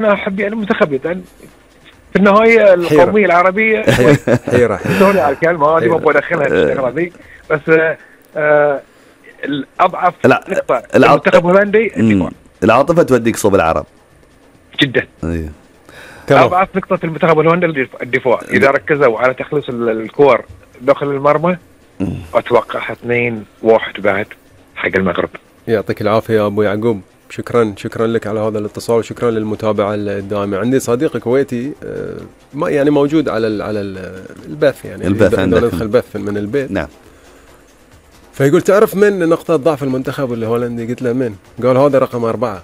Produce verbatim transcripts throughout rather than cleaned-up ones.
انا احب يعني المنتخب يعني في النهايه القوميه العربيه حيره حيره على الكلمه هذه ما ابغى ادخلها في الشغله دي، بس آه الاضعف نقطه المنتخب الهولندي الدفاع. العاطفه توديك صوب العرب جدا. ايوه اضعف نقطه في المنتخب الهولندي الدفاع، اذا ركزوا على تخليص الكور داخل المرمى اتوقع اثنين واحد بعد حق المغرب. يعطيك العافيه يا ابو يعقوب، شكرا شكرا لك على هذا الاتصال وشكرا للمتابعه الدائمه. عندي صديق كويتي ما يعني موجود على على البث، يعني البث عندك ندخل بث من البيت. نعم. فيقول تعرف من نقطه ضعف المنتخب الهولندي؟ قلت له من؟ قال هذا رقم أربعة.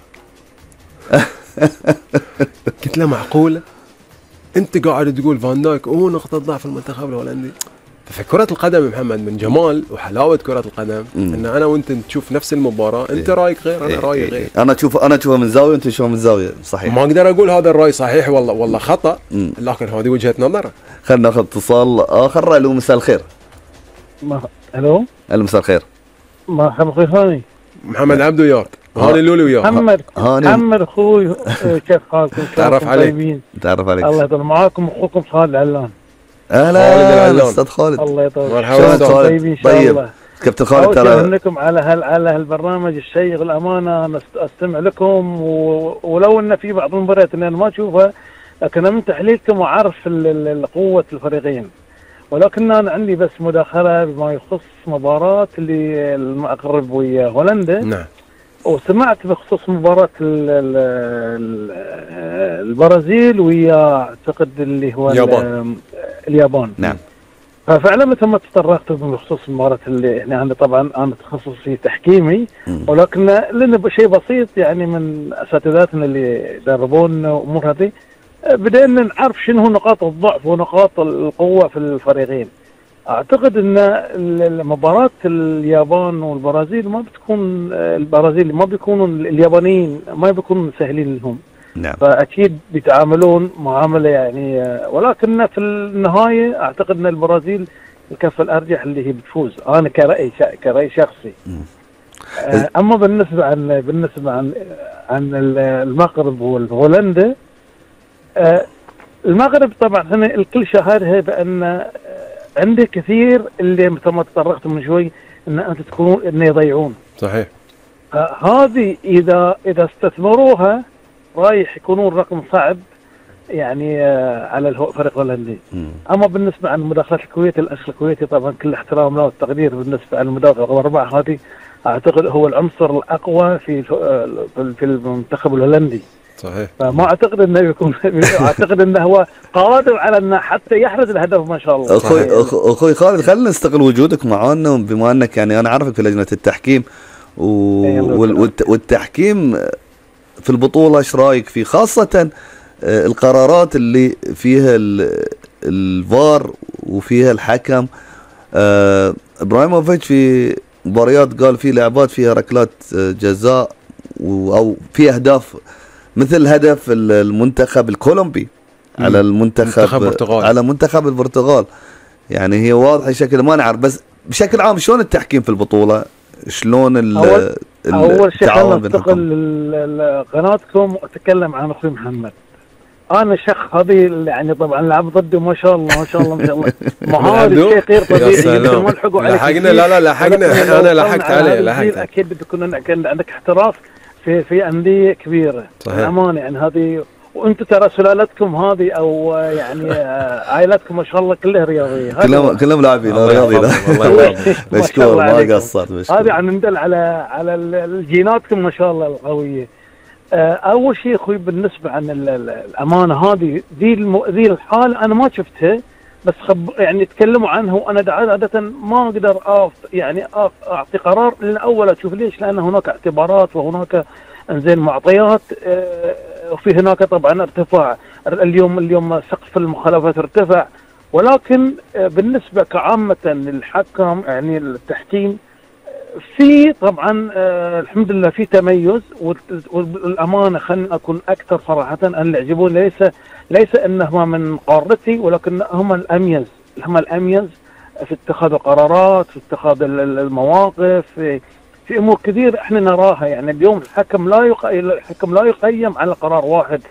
قلت له معقوله؟ انت قاعد تقول فان دايك هو نقطه ضعف المنتخب الهولندي؟ في كرة القدم محمد من جمال وحلاوة كرة القدم مم. ان انا وانت نشوف نفس المباراة، انت إيه. رايك غير انا إيه. رايي إيه. غير. انا اشوف انا اشوفها من زاوية وانت تشوفها من زاوية، صحيح. ما اقدر اقول هذا الراي صحيح والله والله خطأ، مم. لكن هذه وجهة نظر. خلينا ناخذ اتصال اخر. الو مساء الخير. ما الو الو مساء الخير. مرحبا اخوي ثاني محمد عبده وياك، هاني لولي وياك. محمد محمد اخوي كيف حالكم؟ تعرف عليك. تعرف عليك. الله يطول معاكم اخوكم خالد علان. اهلا استاذ خالد. الله يطول. مرحبا طيبين ان شاء الله. كابتن خالد ترى لكم على هال على هالبرنامج الشيق الامانه، انا استمع لكم و... ولو ان في بعض المباريات اللي انا ما اشوفها لكن من تحليلكم وعارف قوه الفريقين، ولكن انا عندي بس مداخله بما يخص مباراه اللي المغرب ويا هولندا. نعم. وسمعت بخصوص مباراة البرازيل ويا اعتقد اللي هو اليابان. اليابان. نعم. ففعلا مثل ما تطرقت بخصوص المباراة اللي احنا عندي، طبعا انا تخصصي تحكيمي، ولكن لنا شيء بسيط يعني من اساتذتنا اللي يدربونا امور هذه، بدأنا نعرف شنو نقاط الضعف ونقاط القوة في الفريقين. اعتقد ان مباراة اليابان والبرازيل ما بتكون البرازيل ما بيكونوا اليابانيين ما بيكونوا سهلين لهم. نعم. فاكيد بيتعاملون معاملة يعني، ولكن في النهاية اعتقد ان البرازيل الكفة الارجح اللي هي بتفوز، انا كرأي كرأي شخصي. اما بالنسبة عن بالنسبة عن عن المغرب والهولندا، المغرب طبعا هنا الكل شاهدها بان عندي كثير اللي مثل ما تطرقت من شوي ان انت تكونون ان يضيعون. صحيح. هذه اذا اذا استثمروها رايح يكونون رقم صعب يعني على الفريق الهولندي. اما بالنسبه عن مداخلات الكويت، الاخ الكويتي طبعا كل احترام له والتقدير، بالنسبه عن المداخله رقم اربعه هذه اعتقد هو العنصر الاقوى في في المنتخب الهولندي. صحيح. فما اعتقد انه يكون اعتقد انه هو قادر على انه حتى يحرز الهدف ما شاء الله. اخوي اخوي خالد خلينا نستغل وجودك معانا، بما انك يعني انا عارفك في لجنه التحكيم و... والتحكيم في البطوله، ايش رايك فيه؟ خاصه القرارات اللي فيها الفار وفيها الحكم. آه... ابراهيموفيتش في مباريات قال في لعبات فيها ركلات جزاء او في اهداف، مثل هدف المنتخب الكولومبي على المنتخب منتخب على منتخب البرتغال. يعني هي واضحه شكل ما نعرف، بس بشكل عام شلون التحكيم في البطوله؟ شلون ال اول, أول شيء خلينا ننتقل قناتكم واتكلم عن اخوي محمد. انا شخ هذه يعني طبعا لعب ضده ما شاء الله ما شاء الله ما شاء الله مهاري شيء غير طبيعي. لحقنا لا لا لحقنا انا لحقت عليه لحقت. اكيد بتكون عندك احتراف في في انديه كبيره امانه يعني هذه، وانتم ترى سلالتكم هذه او يعني عائلتكم ما شاء الله كلها رياضيه، كلهم كلهم لاعبين رياضيين. مشكور ما قصرت. هذه عن ندل على على الجيناتكم ما شاء الله القويه. اول شيء اخوي بالنسبه عن الامانه هذه ذي ذي الحاله انا ما شفتها، بس خب يعني تكلموا عنها وانا عاده ما اقدر أف يعني أف اعطي قرار لان اول اشوف ليش، لان هناك اعتبارات وهناك انزين معطيات، وفي هناك طبعا ارتفاع اليوم اليوم سقف المخالفات ارتفع، ولكن بالنسبه كعامه للحكم يعني التحكيم في طبعا الحمد لله في تميز، والامانه خلينا اكون اكثر صراحه ان اللي يعجبوني ليس ليس انهم من قارتي، ولكن هم الاميز هم الاميز في اتخاذ القرارات، في اتخاذ المواقف، في, في امور كثير احنا نراها. يعني اليوم الحكم لا يق... الحكم لا يقيم على قرار واحد،